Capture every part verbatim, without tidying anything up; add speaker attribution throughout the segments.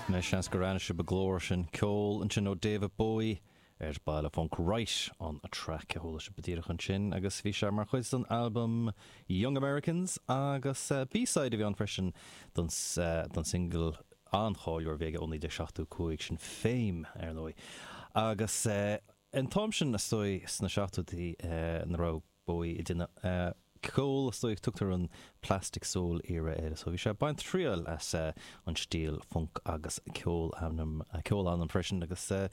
Speaker 1: Anois seans gur aithin sibh an glór sin ceol ansin ó David Bowie ar Baile Funk Right on a Track a chuala sibh díreach ansin agus bhí sé mar chuid den album Young Americans agus uh, B-side a bhí ann freisin don, uh, don single an-cháiliúil a bhí aige ó naoi déag seachtó cúig sin Fame ar ndóigh. Agus uh, an t-am sin is dóigh sna seachtóidí uh, nuair a raibh Bowie ag déanamh uh, ceol is dóigh tugtar an Plastic Soul era air so bhí sé ag baint triail as uh, an stíl funk agus ceol anam uh, ceol anam freisin agus uh,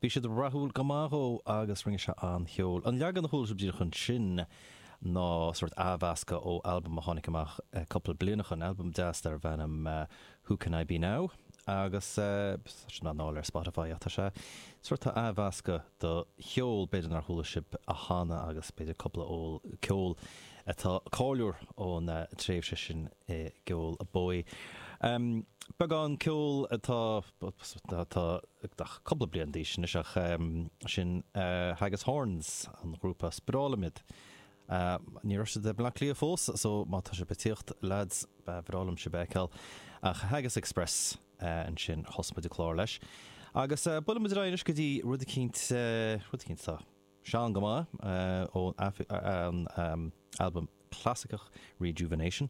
Speaker 1: bhí siad rathúil go maith agus rinne sé an-cheol. An leagan a chuala sibh díreach ansin ná sort athmheascadh ó album a tháinig amach uh, cúpla bliain ó shin album deas darbh ainm uh, Who Can I Be Now? agus uh, sin ná ar Spotify atá sé sort athmheascadh do cheol b'fhéidir nár chuala sibh cheana agus b'fhéidir cúpla ól ceol atá cáiliúil ón uh, tréimhse sin i gceol Bowie. Um, Beagán ceol atá atá cúpla bliain d'aois anois ach um, sin uh, Haggis Horns an grúpa Sprálamid. Uh, ní raibh siad i mBleá Cliath fós so má tá sibh ag tíocht lads ba bhreá liom sibh a fheiceáil ach Haggis Express uh, ansin thosaigh muid an clár leis. Agus uh, buailfidh muid anois go dtí rud eicínt uh, rud eicínt tá. Sean go maith uh, ón an um, album clasaiceach Rejuvenation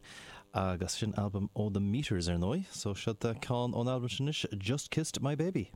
Speaker 1: agus sin album ó The Meters ar ndóigh, so seo ceann ón album sin Just Kissed My Baby.